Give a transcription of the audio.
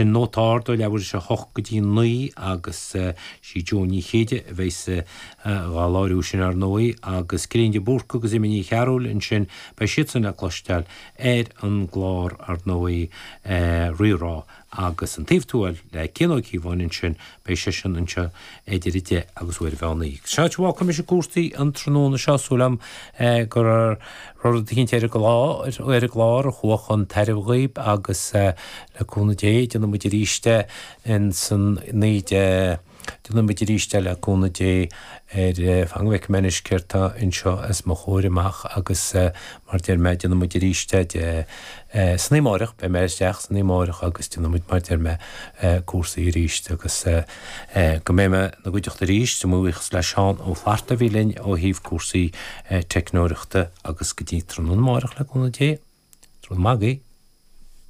Ansin Nóta Ard ó leathuair tar éis a hocht go dtí 9 agus sí Joan Ní Chéide a bheas dhá láithriú sin ar ndóigh agus Cillian de Búrca agus Emma Ní Chearúil ansin beidh siadsan le cloisteáil ar an gclár ar ndóigh Rí-Rá agus An Taobh Tuathail le Cian Ó Cíobháin ansin, beidh seisean anseo idir 10 agus uair an mheán oíche. Sin áit a bhfágfaidh mise cúrsaí an tráthnóna seo, súil agam go raibh rud eicínt ar an gclár, ar an gclár a chuaigh chun tairbhe dhaoib agus le cúnamh Dé déanfaidh muid arís é ins an 19 Déanfaidh muid arís é le cúnamh Dé ar fan go bhfeicfidh mé anois céard tá anseo os mo chomhair amach agus mar deir mé déanfaidh muid arís é de san oíche amáireach, beidh mé isteach san oíche amáireach agus déanfaidh muid mar deir mé cúrsaí arís agus go mbeidh mé ina gcuideachta arís, mo bhuíochas le Seán Ó Flatharta a bhí linn ó thaobh cúrsaí teicneoireachta agus go dtí tráthnóna amáireach le cúnamh Dé, tráthnóna maith agaibh.